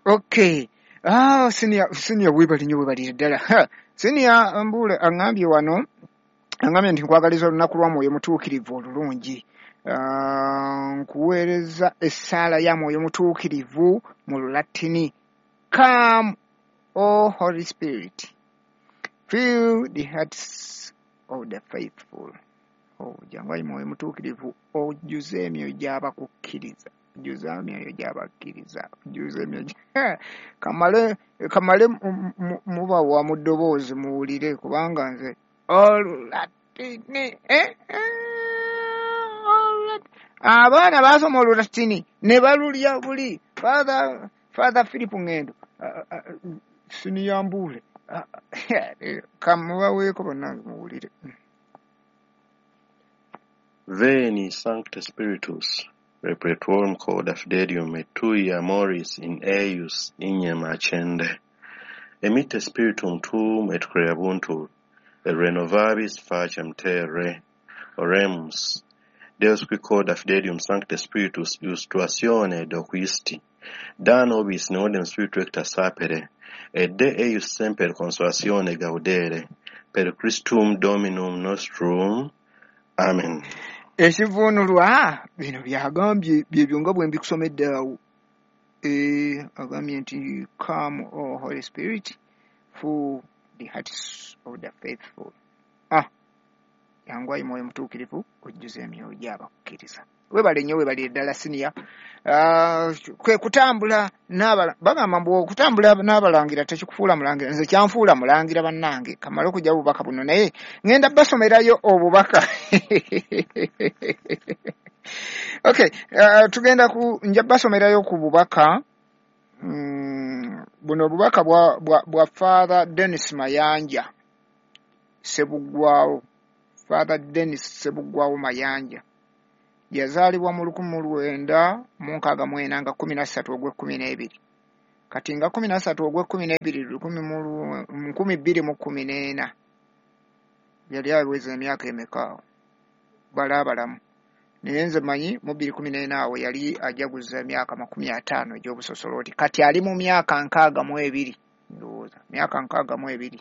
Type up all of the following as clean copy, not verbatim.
Okay. Ah, senior webali nnyo, webalire ddala. Senior Mbuule aŋŋambye wano, aŋŋambye nti nkwagaliza olunaku lwa Mwoyo Mutuukirivu olulungi. Nkuweereza essaala ya Mwoyo Mutuukirivu mu Lulatini. Come, O Holy Spirit, fill the hearts of the faithful. Oh, jangu ayi Mwoyo Mutuukirivu, ojjuze emyoyo gy'abakukkiriza. Ojjuze emyoyo gy'abakkiriza. Ojjuze emyoyo kamale mubawa mu ddoboozi muwulire, kubanga nze Olulatini, abaana baasoma Olulatini ne balulya buli. Father Philip Ngendo, Senior Mbuule, kamubaweeko bannange muwulire. Veni Sancte Spiritus, repertuorum corda fidelium et tui amoris in eius ignem accende. Emitte spiritum tuum et creabuntur, et renovabis facem terre. Oremus. Deus qui corda fidelium Sancte Spiritus iustratione doquisti, da nobis neodem spiritu ecta sapere, et de eius semper consolatione gaudere, per Christum Dominum nostrum. Amen. Ekivuunulwa bino byagambye byebyo nga bwe mbikusomedde awo. Agambye nti come, O Holy Spirit, for the hearts of the faithful. Jangu ayi Mwoyo Mutuukirivu, ojjuze emyoyo gy'abakkiriza. Weebale nnyo, weebalire ddala senior. Kwe kutambula bagamba mbu okutambula n'abalangira tekikufuula mulangira. Nze kyanfuula mulangira bannange. Kamale okujja obubaka buno, naye ŋŋenda basomerayo obubaka. Okay, tugenda ku nja basomerayo ku bubaka. Buno obubaka bwa Father Dennis Mayanja Ssebuggwawo. Father Dennis Ssebuggwawo Mayanja yazaalibwa mu 1964 nga 13 ogw'e12. Kati nga 13 ogw'e12 2014 yali aweza emyaka emeka awo balaabalamu. Naye nze manyi mu 2014 awo yali ajaguza emyaka 50 egy'obusosoloti. Kati ali mu myaka 62, ndowooza myaka 62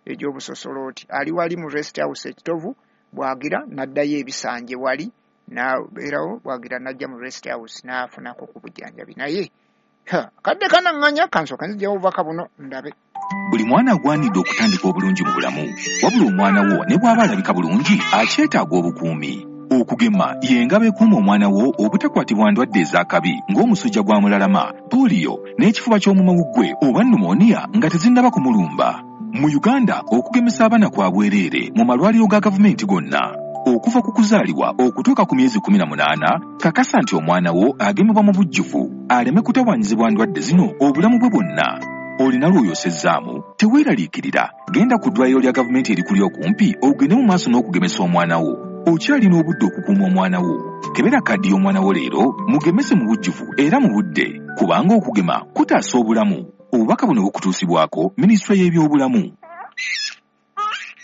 egy'obusosoloti. Ali wali mu rest house e Kitovu, bwagira n'addayo ebisanje wali n'abeerawo, bwagira n'ajja mu rest house n'afunako ku bujjanjabi. Naye kadde kanaŋŋanya, kansooke nzigyewo obubaka buno ndabe. Buli mwana agwanidde okutandika obulungi mu bulamu, wabula omwana wo ne bw'aba alabika bulungi akyetaaga obukuumi. Okugema y'engabo ekuuma omwana wo obutakwatibwa ndwadde ez'akabi ng'omusujja gwa mulalama, pooliyo n'ekifuba ky'omumawuggwe oba pneumonia nga tezinnaba kumulumba. Mu Uganda okugemesa abaana kwa bwereere mu malwaliro ga gavumenti gonna. Okuva ku kuzaalibwa okutuuka ku myezi 18, kakasa nti omwana wo agemebwa mu bujjuvu aleme kutawaanyizibwa ndwadde zino obulamu bwe bwonna. Olina lw'oyosezzaamu, teweeraliikirira, genda ku ddwaliro lya gavumenti erikuli okumpi ogende mu maaso n'okugemesa omwana wo. Okyalina obudde okukuuma omwana wo. Kebera kaddi y'omwana wo leero, mugemese mu bujjuvu era mu budde, kubanga okugema kutaasa obulamu. Obubaka buno bukutuusibwako Minisitule y'Ebyobulamu.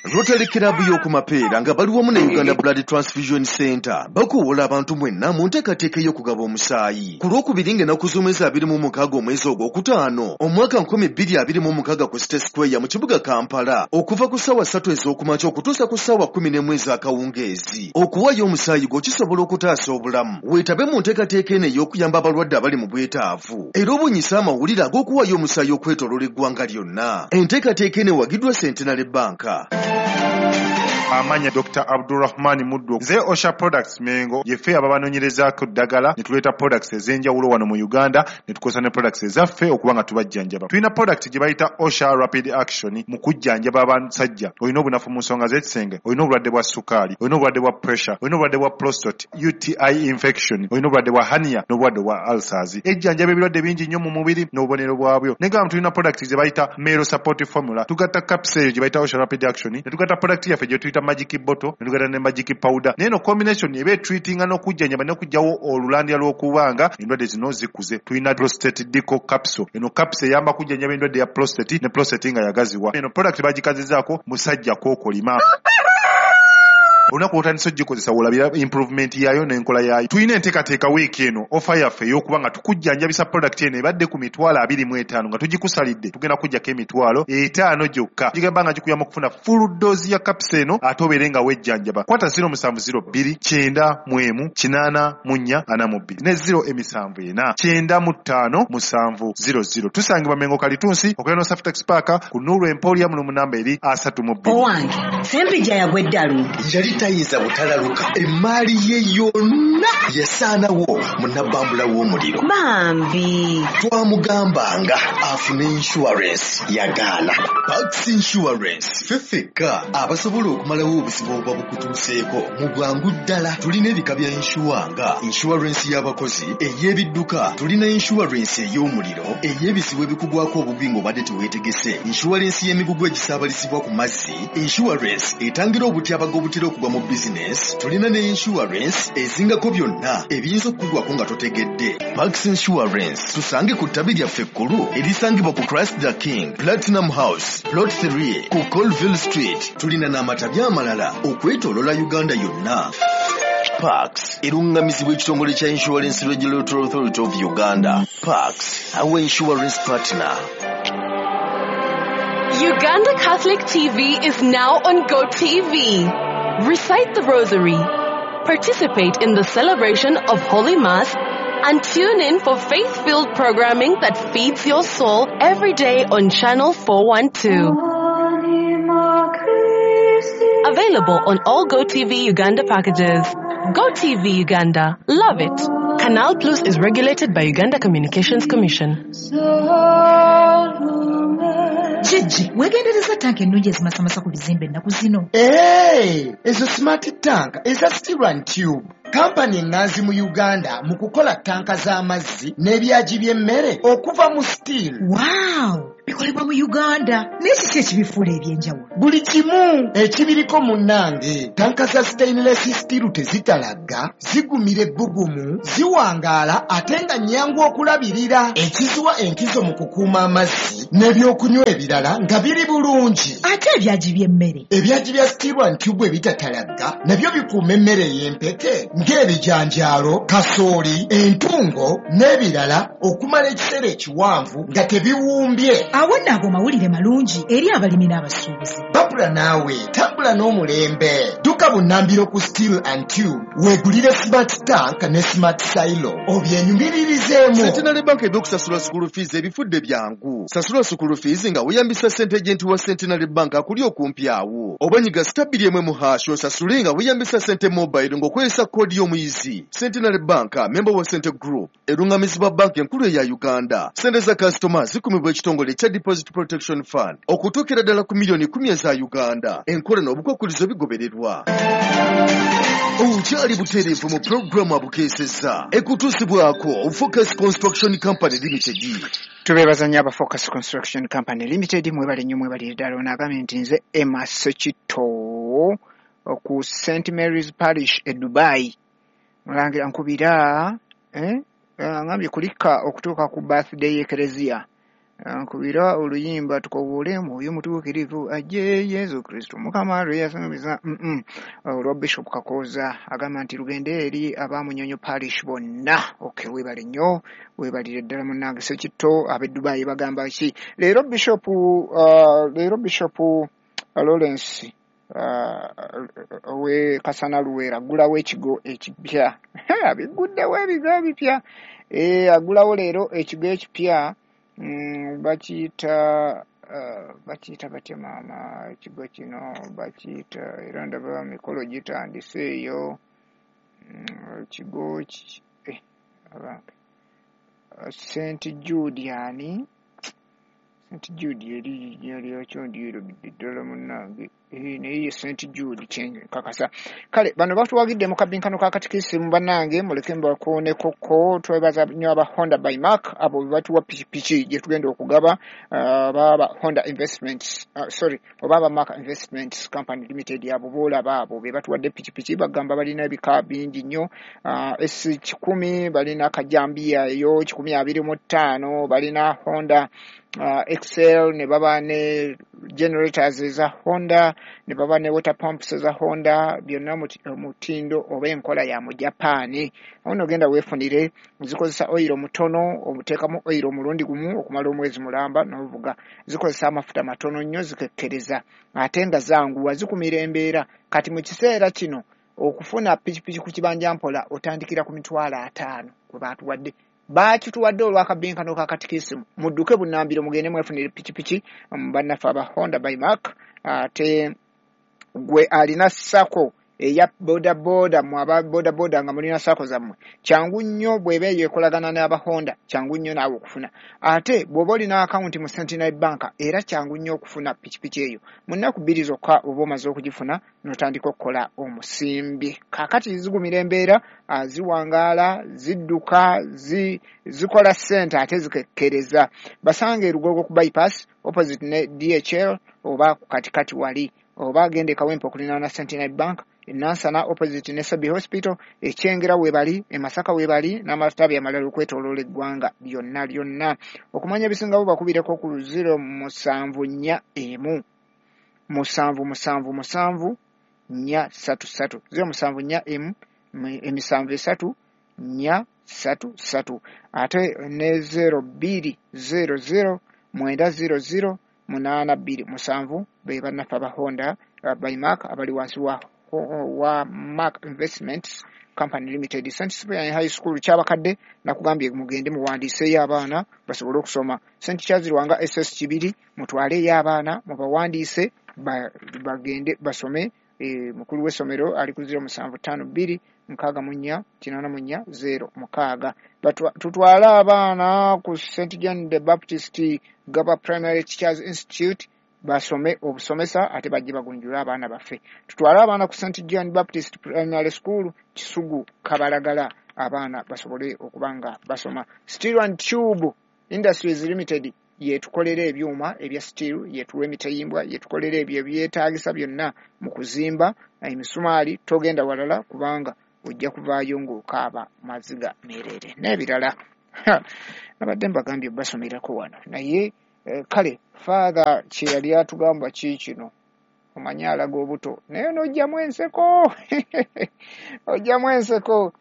Rotary Club y'oku Mapeera nga bali wamu ne Uganda Blood Transfusion Center bakuwola abantu mwenna mu nteekateeka ey'okugaba omusaayi. Ku Lwokubiri ng'ennaku z'omwezi 26 omwezi ogwokutaano omwaka 2026 ku City Square mu kibuga Kampala, okuva ku ssaawa 3 ez'okumakya okutuusa ku ssaawa 11 ez'akawungeezi. Okuwaayo omusaayi gwo kisobola okutaasa obulamu. Weetabe mu nteekateeka eno ey'okuyamba abalwadde abali mu bwetaavu era obunyise amawulire ag'okuwaayo omusaayi okwetooloola eggwanga lyonna. Enteekateeka eno ewagiddwa Centenary Bank. Amanya Dr. Abdulrahman Muddu. Nze Osha Products Mengo yeffe ababanoonyerezaako ddagala ne tuleeta products ez'enjawulo wano mu Uganda ne tukozesa ne products ezaffe okuba nga tubajjanjaba. Tulina product gye bayita Osha Rapid Action mu kujjanjaba abasajja. Olina obunafu mu nsonga z'ekisenge, olina obulwadde bwa sukaali, olina obulwadde bwa pressure, olina obulwadde bwa prostate, UTI infection, olina obulwadde bwa hernia n'obulwadde bwa ulcers. Ejjanjaba ebirwadde bingi nnyo mu mubiri n'obubonero bwabyo. Naye nga tulina product ze bayita Male Support Formula. Tugatta capsule eyo gye bayita Osha Rapid Action ne tugatta product yaffe gye tuyita Magic Bottle ne tugatta ne Magic Powder. Naye eno combination eba etreatinga n'okujjanjaba n'okuggyawo olulandira lw'okubanga endwadde zino zikuze. Tulina prostate deco capsule. Eno capsule eyamba kujjanjaba endwadde ya prostate ne prostate nga yagaziwa. Eno product bagikazizaako musajja kookolima. Olunaku lw'otandise ogikozesa wolabira improvement yaayo n'enkola yaayo. Tulina enteekateeka wiiki eno, offer yaffe ey'okuba nga tukujjanjabisa product eno ebadde ku 25,000 nga tugikusalidde, tugenda kujjako 50,000 gyokka. Gigamba nga gikuyamba okufuna full dose ya capsule eno ate obeere nga wejjanjaba. Kwata 0702 91 84 42 ne 074 95 700. Tusangibwa Mengo Kalitunsi okulira no Saftex Park ku Nuru Emporium mu namba eri 32. Owange, Sempijja yagwa eddalu. Yali tayinza butalaluka, emaali ye yonna yasaanawo mu nabbambula w'omuliro. Bambi. Twamugambanga afune insurance, yagaana. Pax Insurance ffe ffekka abasobola okumalawo obuzibu obuba bukutuuseeko mu bwangu ddala. Tulina ebika bya insure nga insurance y'abakozi, ey'ebidduka, tulina insurance ey'omuliro, ey'ebizibu ebikugwako obugwi ng'obadde teweetegese, insurance y'emigugu egisaabalizibwa ku mazzi, insurance etangira obutyabaga obutera okugwa mu bizinesi, tulina ne insurance ezingako byonna ebiyinza okukugwako nga totegedde. Pax Insurance tusange ku ttabi lyaffe ekkulu erisangibwa ku Christ the King Platinum House Plot 3 ku Colville Street. Tulina n'amatabi amalala okwetoolola Uganda yonna. Pax erungamizibwa ekitongole kya Insurance Regulatory Authority of Uganda. Pax, our insurance partner. Uganda Catholic TV is now on GoTV. Recite the Rosary, participate in the celebration of Holy Mass, and tune in for faith-filled programming that feeds your soul every day on Channel 412. Available on all GoTV Uganda packages. GoTV Uganda. Love it. Canal Plus is regulated by Uganda Communications Commission. Jjejje, weegendereza tanka ennungi ezimasamasa ku bizimbe ennaku zino. Hey, ezo smart tank eza Steel and Tube, kampani eŋŋanzi mu Uganda mu kukola tanka z'amazzi n'ebyagi by'emmere okuva mu steel. Wow, bikolebwa mu Uganda, naye kiki ekibifuula ebyenjawulo? Buli kimu ekibiriko munnange. Tanka za stainless steel tezitalagga, zigumira ebbugumu, ziwangaala ate nga nnyangu okulabirira, ekiziwa enkizo mu kukuuma amazzi n'ebyokunywa ebirala nga biri bulungi. Ate ebyagi by'emmere? Ebyagi bya Steel and Tube ebitatalagga nabyo bikuuma emmere ey'empeke ng'ebijanjaalo, kasooli, entungo n'ebirala okumala ekiseera ekiwanvu nga tebiwumbye. Awo nno ago mawulire malungi eri abalimi n'abasuubuzi. Babula naawe tambula n'omulembe. Dduka bunnambiro ku Steel and Tube weegulire smart tank ne smart silo obyenyumiririzeemu. Centenary Bank ebyokusasula school fees ebifudde byangu. Sasula school fees nga weeyambisa sente agent wa Centenary Bank akuli okumpi awo, oba nyiga *2 mu hash osasule nga weeyambisa sente mobile ng'okozesa koodi y'omuyizi. Centenary Bank, member wa Sente Group, erungamizibwa banka enkulu eya Uganda. Sente za kasitoma zikumibwa ekitongole ekya Deposit Protection Fund okutuukira ddala ku 10,000,000 eza Uganda. Enkola n'obukwakkulizo bigobererwa. Okyali butereevu mu pulogulaamu abukeesezza ekutuusibwako Focus Construction Company Limited. Tubeebaza nnyo aba Focus Construction Company Limited, mwebale nnyo, mwebalire ddala. Ono agambye nti nze Emma Sekito ku St Mary's Parish e Dubai. Mulangira nkubira ngambye kulika okutuuka ku birthday y'Ekereziya. Nkubira oluyimba tukowoole Mwoyo Mutuukirivu ajje Yesu Kristo Mukama lwe yasuubiza. Olwa Bishop Kakooza agamba nti lugende eri ab'Amunyonyo Parish bonna. Okay, weebale nnyo, weebalire ddala munnange Sekitto. Ab'e Dubai bagamba ki leero? Bishop leero Bishop Lawrence owe Kasana Luweero aggulawo ekigo ekipya. Abiguddewo ebigo ebipya. Aggulawo leero ekigo ekipya, bakiyita batya maama ekigo kino? Bakiyita, era ndaba mikolo gitandise eyo. Ekigo abange, St Jude, ani St Jude eri erinnya lyakyo ndyerabidde ddala munnange. Naye ye St Jude kyenkakasa. Kale bano batuwagidde mu kabinkano ka katikisimu bannange, muleke mbakoonekoko. Twebaza nnyo aba Honda by Mark, abo be batuwa pikipiki gye tugenda okugaba, baba Honda Investments, sorry, oba aba Mark Investments Company Limited, abo boolaba abo be batuwadde pikipiki. Bagamba balina ebika bingi nnyo, S100, balina kajambiya eyo 125, balina Honda Excel, ne baba ne generators eza Honda, ne baba ne water pumps eza Honda, byonna mutindo oba enkola ya mu Japan. Ono genda weefunire, zikozesa oil mutono, omuteekamu oil omulundi gumu okumala omwezi mulamba n'ovuga. Zikozesa amafuta matono nnyo, zikekkereza ate nga zanguwa, zikumira embeera. Kati mu kiseera kino okufuna pikipiki ku kibanja mpola otandikira ku 50,000 kwe baatuwadde. Baakituwadde olw'akabbinkano ka katikisimu. Mudduke bunnambiro mugende mwefunire pikipiki bannaffe aba Honda by Mark. Ate gwe alina SACCO eya bodaboda, mwe aba bodaboda nga mulina SACCO zammwe, kyangu nnyo bw'eba eyo ekolagana n'aba Honda, kyangu nnyo naawe okufuna. Ate bw'oba olina akawunti mu Centenary Bank, era kyangu nnyo okufuna pikipiki eyo. Mu nnaku 2 zokka oba omaze okugifuna n'otandika okukola omusimbi. Kaakati zigumira embeera, ziwangaala, zidduka, zikola ssente ate zikekkereza. Basange e Lugogo ku bypass opposite ne DHL oba ku katikati wali, oba agende e Kawempe okulinaana Centenary Bank, e Nansana opposite ne Sabi Hospital, e Kyengera weebali, e Masaka weebali, n'amatabi amalala okwetooloola eggwanga lyonna lyonna. Okumanya ebisingawo bakubireko ku 0741 777 433, 0741 7 3 433, ate ne 0200 900 827 be bannaffe aba Honda by Mark abali wansi wa Mark Investments Company Limited. St. Cyprian High School kyabakadde nakugambye mugende muwandiiseeyo abaana basobole okusoma. St. Charles Lwanga SS Kibiri mutwaleeyo abaana mubawandiise bagende basome. Mukulu w'essomero ali ku 0752 64 84 06. Tutwale abaana ku St. John the Baptist Gaba Primary Teachers Institute basome obusomesa ate bajje bagunjule abaana baffe. Tutwale abaana ku St. John Baptist Primary School Kisugu Kabalagala abaana basobole okuba nga basoma. Steel and Tube Industries Limited yetukolera ebyuma ebya steel, yetuwa emitayimbwa, yetukolera ebyo ebyetaagisa byonna mu kuzimba emisumaali. Togenda walala kubanga ojja kuvaayo ng'okaaba maziga meerere n'ebirala. Nabadde mbagambye basomerako wano naye kale Father kye yali atugamba ki kino, omanyi alaga obuto naye n'ojjamu enseko ojjamu enseko.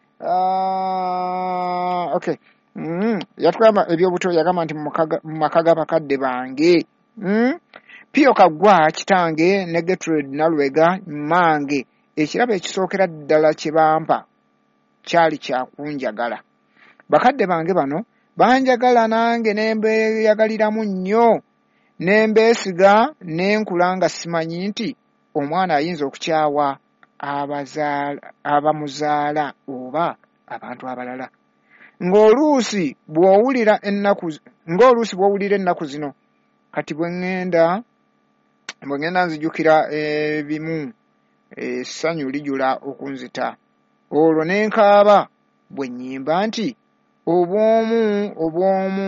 Okay. Yatugamba ebyobuto, yagamba nti mu maka g'abakadde bange Pio Kaggwa kitange ne Gertrude Nalwega mmange, ekirabo ekisookera ddala kye bampa kyali kyakunjagala. Bakadde bange bano banjagala nange ne mbeeyagaliramu nnyo, ne mbeesiga ne nkula nga simanyi nti omwana ayinza okukyawa abamuzaala oba abantu abalala. Ng'oluusi bw'owulira ennaku zino, kati bwe ŋŋenda nzijukira ebimu, essanyu lijula okunzita. Olwo ne nkaaba bwe nnyimba nti obwomu obwomu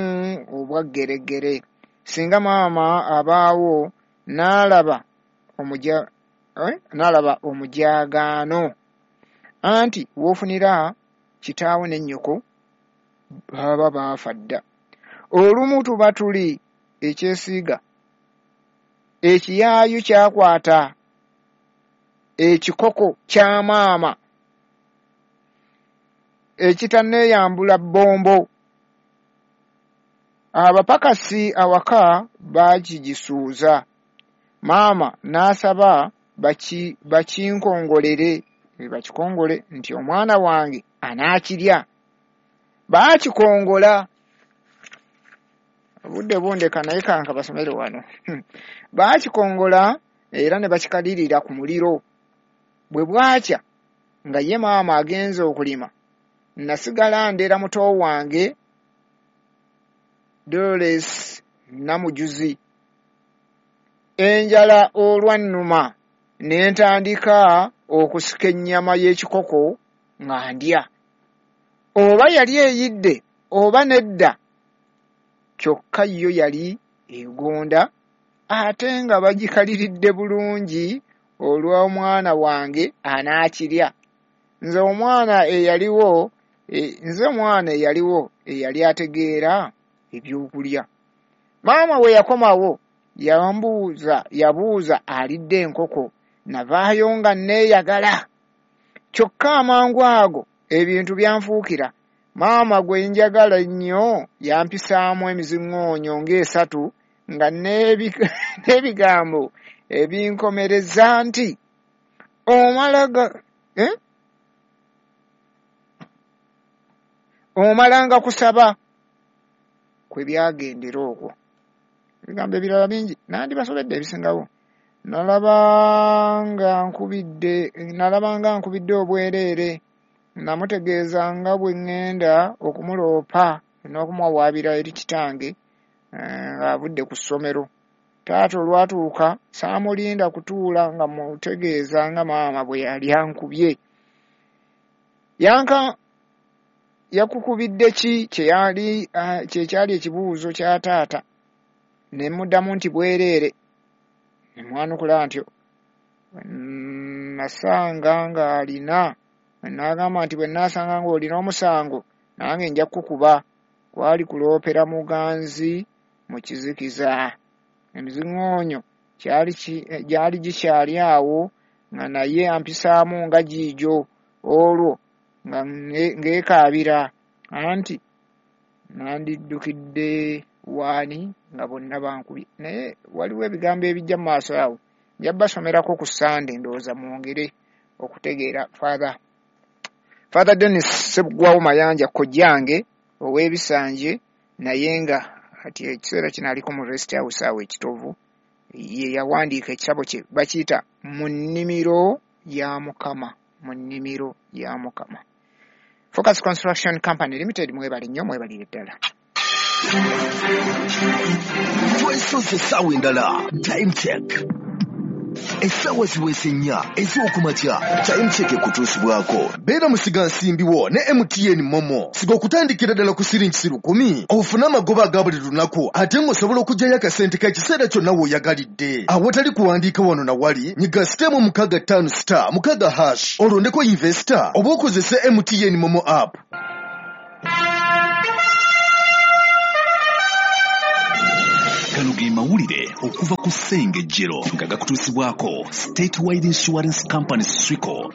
obwa ggereggere. Singa maama abaawo n'alaba omujaagaano, anti w'ofunira kitaawo ne nnyoko baba baafa dda. Olumu tuba tuli ekyesiiga, ekiyaayu kyakwata ekikoko kya maama ekitanneeyambula bbombo. Abapakasi awaka baakigisuuza, maama n'asaba bakinkongolere bakikongole nti omwana wange anaakirya. Baakikongola, obudde bundeka naye kanka basomere wano. Baakikongola era ne bakikalirira ku muliro. Bwe bwakya nga ye maama agenze okulima, nasigala ndera muto wange Dolores Namujuzi. Enjala olwannuma ne ntandika okusika ennyama y'ekikoko nga ndya. Oba yali eyidde oba nedda, kyokka yo yali egonda ate nga bagikaliridde bulungi olw'omwana wange anaakirya. Nze omwana eyaliwo eyali ategeera ebyokulya. Maama we yakomawo yabuuza alidde enkoko, navaayo nga neeyagala. Kyokka amangu ago ebintu byanfuukira. Maama gwe njagala ennyo yampisaamu emiziŋŋoonyo ng'esatu nga n'ebigambo ebinkomereza nti omalanga kusaba kwe byagendera okwo. Ebigambo ebirala bingi nandibasobedde ebisingawo. Nalabanga nkubidde obwereere, namutegeeza nga bwe ŋŋenda okumuloopa n'okumuwawaabira eri kitange ng'avudde ku ssomero. Taata olwatuuka saamulinda kutuula nga mutegeeza nga maama bwe yali ankubye. Yakukubidde ki kye kyali ekibuuzo kya taata. Ne muddamu nti bwereere. Ne mwanukula ntyo. Nasanga ng'alina, n'agamba nti bwe nnaasanga ng'olina omusango nange nja kukukuba. Kwali kuloopera muganzi mu kizikiza. Emiziŋŋoonyo gyali gikyali awo nga naye ampisaamu nga giigyo, olwo nga ngeekaabira anti nandiddukidde waani nga bonna bankubye. Naye waliwo ebigambo ebijja mu maaso awo, nja basomerako ku Ssande ndowooza mwongere okutegeera. Father Dennis Ssebuggwawo Mayanja kojjange ow'ebisanje, naye nga kati ekiseera kino aliko mu rest house awo e Kitovu, ye yawandiika ekitabo kye bakiyita Mu nnimiro ya Mukama. Mu nnimiro ya Mukama. Focus Construction Company Limited, mwebale nnyo, mwebalire ddala. Twesoze essaawa endala. Time check. Essaawa ziweze 4 ez'okumakya. Time check ekutuusibwako. Beera musigansimbi wo ne MTN Momo. Siga okutandikira ddala ku siringi 10,000 ofune amagoba aga buli lunaku, ate ng'osobola okuggyayo akasente k'ekiseera kyonna w'oyagalidde. Awatali kuwandiika wano na wali, nyiga *656*6# olondeko investor oba okozese MTN Momo app. Gano ge mawulire okuva ku Ssengejjero nga gakutuusibwako Statewide Insurance Company SWICO.